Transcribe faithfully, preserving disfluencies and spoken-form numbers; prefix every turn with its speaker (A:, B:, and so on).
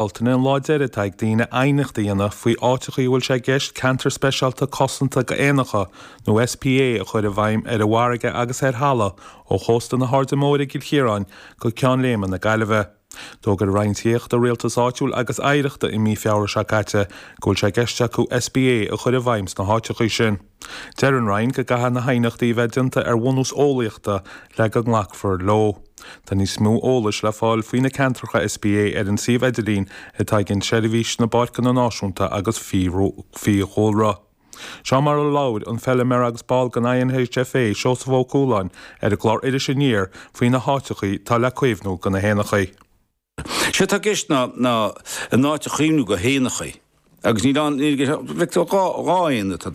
A: Bealtaine an lá deiridh atá ag daoine aighneacht a dhéanamh faoi áiteacha a bhfuil sé i gceist ceantar speisialta cosanta d'éanacha nó SPA a chur i bhfeidhm ar an bhfarraige agus ar thalamh ó chósta na hAirde Móire i gCill Chiaráin go Ceann Léime na Gaillimhe. D'fhógair Roinn Tithíochta, Rialtais Áitiúil agus Oidhreachta i mí Feabhra seo caite go bhfuil sé i gceist acu SPA a chur i bhfeidhm sna háiteacha sin. Deir an Roinn go gcaithfidh na haighneachtaí a bheith déanta ar bhunús eolaíochta le go nglacfar leo. Tá níos mó eolais le fáil faoi na ceantracha SPA ar an suíomh idirlín atá ag an Seirbhís na bPáirceanna Náisiúnta agus Fiadhúlra. Seo mar a labhair an feilméara agus ball den INHFA Seosamh Ó Cualáin ar an gclár Iris Aniar faoi na háiteacha atá le caomhnú do na héanacha.
B: Sé tá i gceist ná ná an áit a chaomhnú do héanacha agus ní dhá éan atá